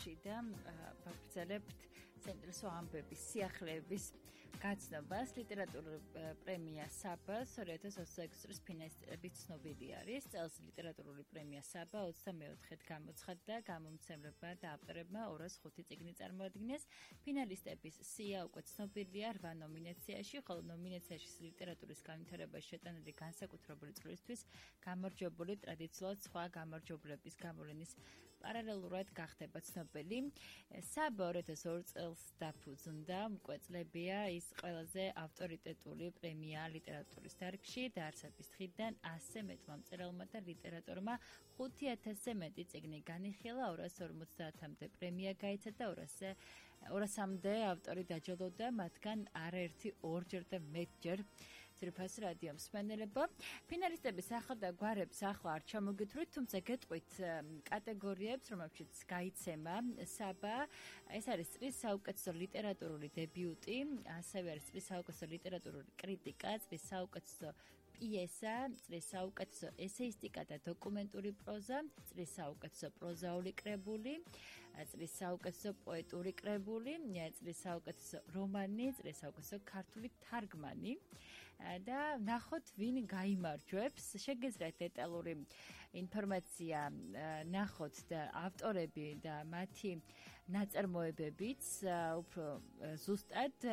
წრეში და ვაგრძელებთ საინტერესო ამბების, სიახლეების გაცნობას. ლიტერატურული პრემია საბა 2026 წლის ფინალისტების ცნობილი არის. წელს ლიტერატურული პრემია საბა 24-ად გამოცხადდა, გამომცემლებმა და ავტორებმა 205 წიგნი წარმოადგინეს. ფინალისტების სია უკვე ცნობილია 8 ნომინაციაში, ხოლო ნომინაციაში ლიტერატურის განვითარებაში შეტანილი განსაკუთრებული წვლისთვის გამარჯვებული ტრადიციულად სხვა გამარჯვებულების გამოვლენის პარალელურად გახდება ცნობილი. საბა 2002 წელს დაფუძნდა, უკვე წლებია ის ყველაზე ავტორიტეტული პრემია ლიტერატურის დარგში, დაარსების დღიდან 100-ზე მეტმა მწერალმა და ლიტერატორმა 5000-ზე მეტი წიგნი განიხილა, 250-მდე პრემია გაიცა და 200-მდე ავტორი დაჯილდოვდა, მათგან არაერთი ორჯერ და მეტჯერ ძვირფას რადიო მსმენელებო. ფინალისტების ახალ და გვარებს ახლა არ ჩამოგითვლით, თუმცა გეტყვით კატეგორიებს, რომელშიც გაიცემა საბა. ეს არის წლის საუკეთესო ლიტერატურული დებიუტი, ასევე არის წლის საუკეთესო ლიტერატურული კრიტიკა, წლის საუკეთესო პიესა, წლის საუკეთესო ესეისტიკა და დოკუმენტური პროზა, წლის საუკეთესო პროზაული კრებული, წლის საუკეთესო პოეტური კრებული, წლის საუკეთესო რომანი, წლის საუკეთესო ქართული თარგმანი და ნახოთ ვინ გაიმარჯვებს. შეგეძლიათ დეტალური ინფორმაცია ნახოთ და ავტორები და მათი ნაწარმოებებიც უფრო ზუსტად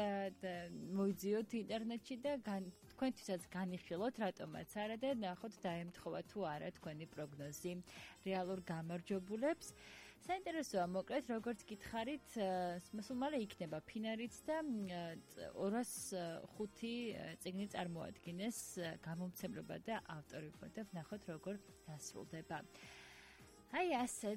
მოიძიოთ ინტერნეტში და თქვენთვისაც განიხილოთ რატომაც არა და ნახოთ დაემთხოვა თუ არა თქვენი პროგნოზი რეალურ გამარჯვებულებს. საინტერესოა მოკლედ, როგორც გითხარით, სულ მალე იქნება ფინალიც და 205 წიგნი წარმოადგინეს გამომცემლობა და ავტორები და ვნახოთ როგორ დასრულდება. აი ასე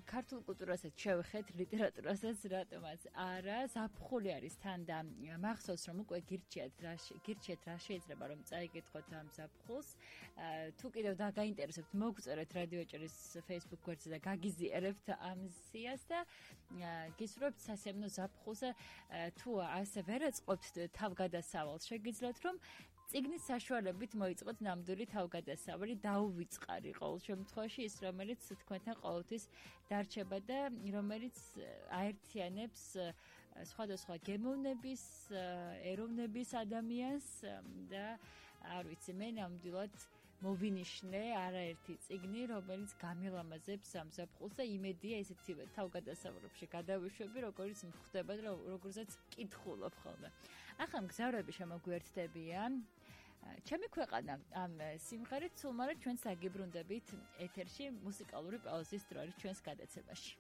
ქართულ კულტურასაც შევეხეთ, ლიტერატურასაც რატომაც არა, ზაფხული არის თან და მახსოვს რომ უკვე გირჩიათ რა შეიძლება რომ წაიგეთქოთ ამ ზაფხულს. თუ კიდევ დაგაინტერესებთ, მოგწერეთ რადიოჭერის Facebook გვერდზე და გაგიზიარებთ ამ სიას და გისურვებთ სასიამოვნო ზაფხულზე. თუ ასე ვერ ეწყობთ თავგადასავალს, შეგიძლიათ რომ წიგნის საშუალებით მოიწყოთ ნამდვილი თავგადასავალი, დაუვიწყარი ყოველ შემთხვევაში ის, რომელიც თქვენთან ყოველთვის დარჩება და რომელიც აერთიანებს სხვადასხვა გემოვნების, ეროვნების ადამიანს და არ ვიცი, მე ნამდვილად მოვინიშნე არაერთი წიგნი, რომელიც გამილამაზებს ამ ზაფხულს და იმედია ესეთივე თავგადასავლებში გადავიშვები, როგორც მხდება და როგორცაც კითხულობ ხოლმე. ახლა მგზავრები შემოგვიერთდებიან. ჩემი ქვეყანა ამ სიმღერით სულ მალე ჩვენს აგიბრუნდებით ეთერში მუსიკალური პაუზის დრო არის ჩვენს გადაცემაში.